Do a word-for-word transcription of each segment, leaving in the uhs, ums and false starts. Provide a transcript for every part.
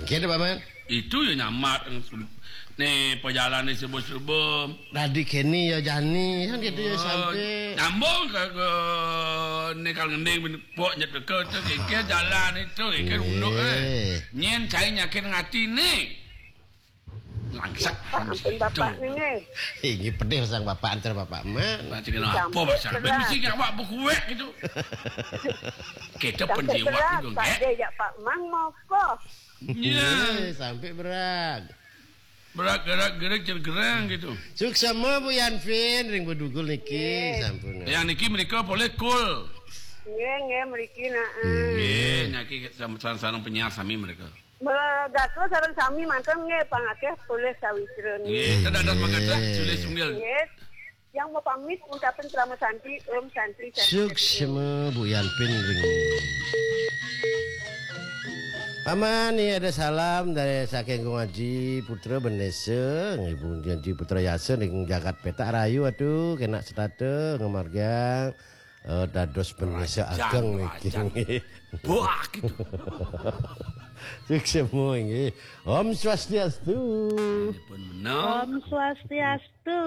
Kene, Pak Man. Itu ya nyamar ne perjalanan subuh-subuh. Dadi kene ya jani kan gitu ya. Oh, sampai nyambung ke, ke ne kalau ngending pok nyet ke tu keke jalan itu keke unduk eh. Nyen cai nyakin ngati ni. Langsak. Pak, ampun bapak ni. Ini pedih sang bapak antar bapak man. Baca kena apa pasal? Mesti awak berkuat gitu. Kita penjiwat dulu, Pak. Dia jak Pak Mang mau kok. Ya. Sampai berat. Berat gerak gerak gerang gitu. Suksema Bu Yanvin ring bedugul niki sampun. Yang niki mereka boleh kul. Nggih, nggih, mriki nah. Nggih, niki sama-sama penyiar sami mereka. Megato sareng sami manten nggih pangakeh polih sawitra nggih. Nggih, kita ada semangat lah, sulit sungguh. Nggih. Yang mau pamit ucapin krama santi, Om Santi, Santi. Suksema Bu Yanpin ring. Paman, ini ada salam dari saking Kong Aji Putra Bendesa, Ibu Janji Putra Yasa ning jagat petak rayu aduh kena setata ngemargiang eh, dados bendesa ageng niki. Wah gitu. Suksema nggih. Om Swastiastu. Pun menang. Om Swastiastu.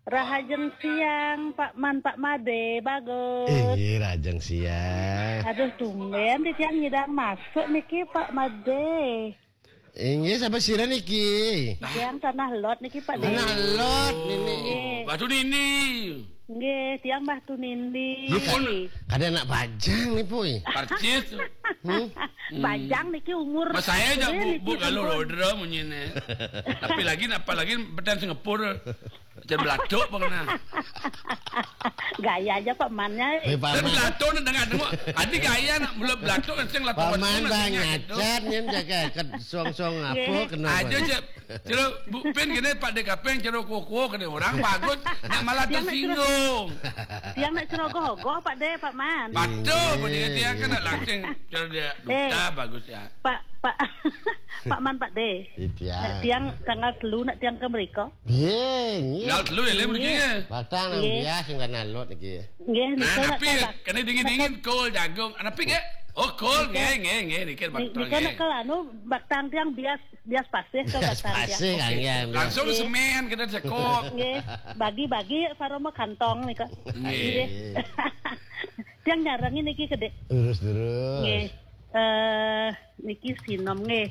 Rahajeng siang, Pak Man, Pak Made, bagus. Inggih, rahajeng siang. Aduh, tumben titiang nyidang masuk niki, Pak Made. Inggih, sapa sira niki? Tiang Tanah Lot niki, Pak Tanah Dé. Lot nini. Nggih. Batu Nini. Nggih, tiang Batu Nini. Lu pun kada anak bajang nih, Puy. Percis. Hmm? Bajang niki umur. Mas saya aja Nggih, bu, niki bu kalau ampun. Rodra munyine. Tapi lagi apa lagi bedan Singapura. Macam belatuk pun kena. Gaya aja Pak Mannya. Eh, Pak Dan Man. Belatuk ni dengar tengok. Adi gaya nak mula belatuk kan sing latuk Pak Man bang nyacat ni jaga kat song-song apa Nggih. Kena Aja apa? Je. Celo Bu Pin kena Pak Dek Kapeng celo kuku kena orang bagus nak malah Tiang nak tersinggung. Tiang nak cerogoh-ogoh Pak De, Pak Man. Betul pun dia dia kan nak langsung celo dia Eh. Duta bagus ya. Pak Pak Pak Man Pak De. Tiang. Tiang tanggal telu nak tiang ke mereka. Nggih, nggih. Ngal telu ya, lem niki ya. Batang nang Nggih. Bias sing kana lot niki. Nggih, Nah, nika tapi nak kena dingin-dingin kol jagung. Ana pik ya? Oh, kol nggih nggih nggih niki Ni- batang Nika nggih. Nak kalau anu batang tiang bias bias pasir ke Bias batang tiang. Pasir kan ya. Langsung semen kena cekok. Nggih, bagi-bagi saroma kantong nika. Nggih. Nggih. Tiang nyarangi niki kedek. Terus terus. Nggih. Eh niki sinom nggih.